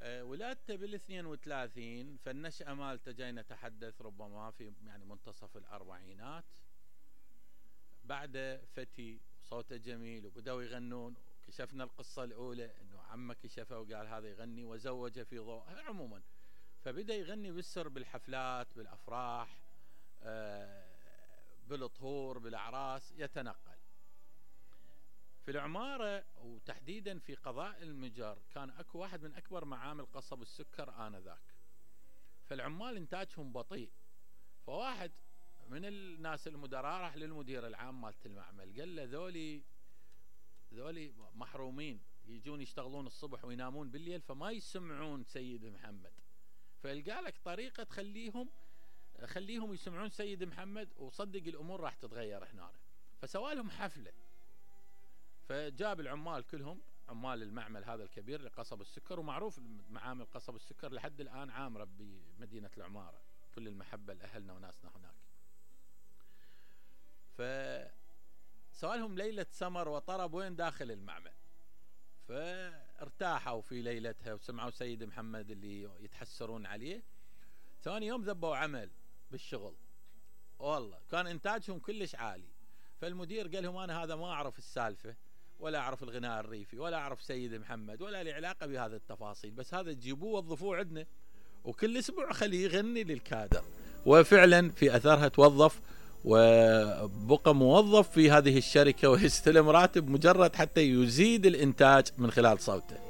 ولادته بال32، فالنشأة مالته جاي نتحدث ربما في يعني منتصف الأربعينات. بعد فتي وصوته جميل وبدأوا يغنون. كشفنا القصة الأولى أنه عمه كشفه وقال هذا يغني وزوجه في ضوء عموما. فبدأ يغني بالسر بالحفلات بالأفراح بالطهور بالأعراس يتنقل. في العمارة وتحديدا في قضاء المجر كان اكو واحد من اكبر معامل قصب السكر آنذاك. فالعمال انتاجهم بطيء. فواحد من الناس المدراء راح للمدير العام مالت المعمل قال له ذولي محرومين يجون يشتغلون الصبح وينامون بالليل فما يسمعون سيد محمد. فلقى لك طريقة خليهم يسمعون سيد محمد وصدق الامور راح تتغير هنا. فسوالهم حفلة. فجاب العمال كلهم عمال المعمل هذا الكبير لقصب السكر. ومعروف معامل قصب السكر لحد الآن عامرة بمدينة العمارة. كل المحبة لأهلنا وناسنا هناك. فسوالهم ليلة سمر وطرب وين داخل المعمل. فارتاحوا في ليلتها وسمعوا سيد محمد اللي يتحسرون عليه. ثاني يوم ذبوا عمل بالشغل. والله كان إنتاجهم كلش عالي. فالمدير قال لهم أنا هذا ما أعرف السالفة ولا أعرف الغناء الريفي ولا أعرف سيد محمد ولا لي علاقة بهذه التفاصيل. بس هذا تجيبوه وظفوه عندنا وكل أسبوع خليه يغني للكادر. وفعلا في أثرها توظف وبقى موظف في هذه الشركة ويستلم راتب مجرد حتى يزيد الإنتاج من خلال صوته.